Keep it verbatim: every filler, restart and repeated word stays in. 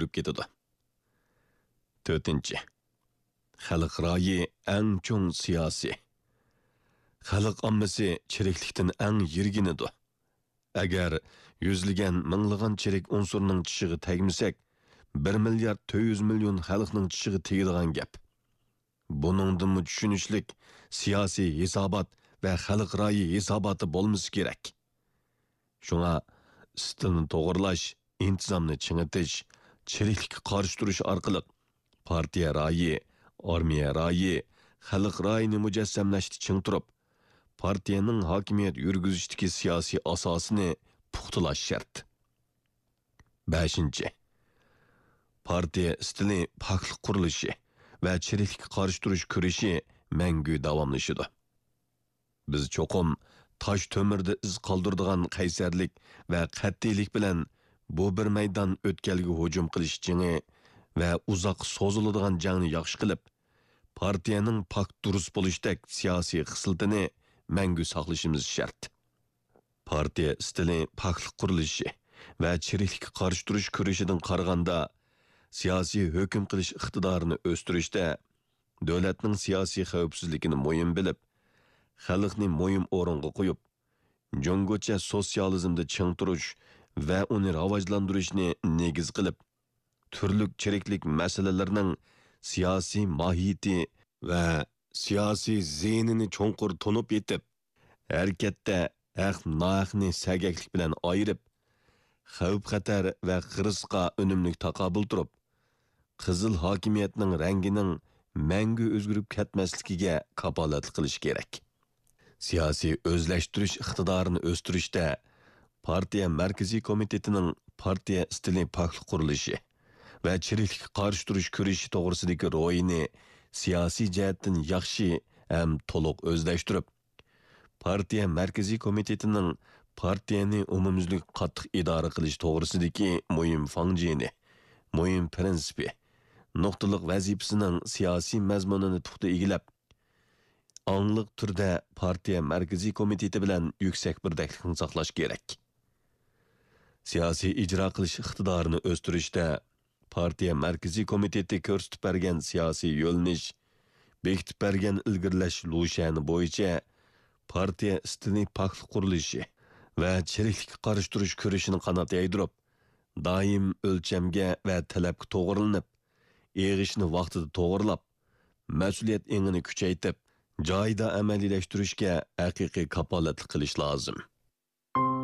ئۆتكۈزۈپ كېتىدۇ. تۆتىنچى، خەلق رايى ئەڭ چوڭ سىياسىي. خەلق ئاممىسى چىرىكلىكتىن ئەڭ يىرگىنىدۇ. ئەگەر يۈزلىگەن، مىڭلىغان چىرىك ئۇنسۇرنىڭ چىشىغا تەگمىسەك، بىر مىليارد تۆت يۈز مىليون خەلقنىڭ چىشىغا تېگىدىغان گەپ. بۇنىڭدىنمۇ چۈشىنىشلىك سىياسىي ھېسابات ۋە خەلق رايى ھېساباتى بولمىسا كېرەك. شۇڭا ئىستىلنى توغرىلاش، ئىنتىزامنى چىڭىتىش، چىرىكلىككە قارشى تۇرۇش ئارقىلىق پارتىيە رايى، ئارمىيە رايى، خەلق رايىنى مۇجەسسەملەشتە چىڭ تۇرۇپ، پارتىيەنىڭ ھاكىمىيەت يۈرگۈزۈشتىكى سىياسىي ئاساسىنى پۇختىلاش شەرت. بەشىنچى، پارتىيە ئىستىلى پاكلىق قۇرۇلۇشى ۋە چىرىكلىككە قارشى تۇرۇش كۈرىشى مەڭگۈ داۋاملىشىدۇ. بىز چوقۇم تاش تۆمۈردە ئىز قالدۇرىدىغان قەيسەرلىك ۋە قەتئىيلىك بىلەن بۇ بىر مەيدان ئۆتكەلگە ھۇجۇم قىلىش جېڭى ۋە ئۇزاققا سوزۇلىدىغان جەڭنى ياخشى قىلىپ، پارتىيەنىڭ پاك دۇرۇس بولۇشتەك سىياسىي خىسلىتىنى مەڭگۈ ساقلىشىمىز شەرت. پارتىيە ئىستىلى پاكلىق قۇرۇلۇشى ۋە چىرىكلىككە قارشى تۇرۇش كۈرىشىدىن قارىغاندا، سىياسىي ھۆكۈم قىلىش ئىقتىدارىنى ئۆستۈرۈشتە، دۆلەتنىڭ سىياسىي خەۋپسىزلىكىنى مۇھىم بىلىپ، خەلقنى مۇھىم ئورۇنغا قويۇپ، جۇڭگوچە سوتسىيالىزمدا چىڭ تۇرۇش ۋە ئۇنى راۋاجلاندۇرۇشنى نېگىز قىلىپ، تۈرلۈك چىرىكلىك مەسىلىلىرىنىڭ سىياسىي ماھىيىتى ۋە سىياسىي زىيىنىنى چوڭقۇر تونۇپ يېتىپ، ھەرىكەتتە ھەق-ناھەقنى سەگەكلىك بىلەن ئايرىپ، خەۋپ-خەتەر ۋە خىرىسقا ئۈنۈملۈك تاقابىل تۇرۇپ، قىزىل ھاكىمىيەتنىڭ رەڭگىنىڭ مەڭگۈ ئۆزگىرىپ كەتمەسلىكىگە كاپالەتلىك قىلىش كېرەك. سىياسىي ئۆزلەشتۈرۈش ئىقتىدارىنى ئۆستۈرۈشتە پارتىيە مەركىزىي كومىتېتىنىڭ پارتىيە ئىستىلى پاكلىق قۇرۇلۇشى ۋە چىرىكلىككە قارشى تۇرۇش كۈرىشى توغرىسىدىكى روھىنى سىياسىي جەھەتتىن ياخشى ھەم تولۇق ئۆزلەشتۈرۈپ، پارتىيە مەركىزىي كومىتېتىنىڭ پارتىيەنى ئومۇميۈزلۈك قاتتىق ئىدارە قىلىش توغرىسىدىكى مۇھىم فاڭجېنى، مۇھىم پىرىنسىپى، نۇقتىلىق ۋەزىپىسىنىڭ سىياسىي مەزمۇنىنى پۇختا ئىگىلەپ، ئاڭلىق تۈردە پارتىيە مەركىزىي كومىتېتى بىلەن يۈكسەك بىردەكلىكنى ساقلاش كېرەك. سىياسىي ئىجرا قىلىش ئىقتىدارىنى ئۆستۈرۈشتە پارتىيە مەركىزىي كومىتېتى كۆرسىتىپ بەرگەن سىياسىي يۆنىلىش، بېكىتىپ بەرگەن ئىلگىرىلەش لۇشيەنى بويىچە پارتىيە ئىستىلى پاكلىق قۇرۇلۇشى ۋە چىرىكلىككە قارشى تۇرۇش كۈرىشىنى قانات يايدۇرۇپ، دائىم ئۆلچەمگە ۋە تەلەپكە توغرىلىنىپ، ئېغىشنى ۋاقتىدا توغرىلاپ، مەسئۇلىيەت ئېڭىنى كۈچەيتىپ، جايىدا ئەمەلىيلەشتۈرۈشكە ھەقىقىي كاپالەتلىك قىلىش لازىم.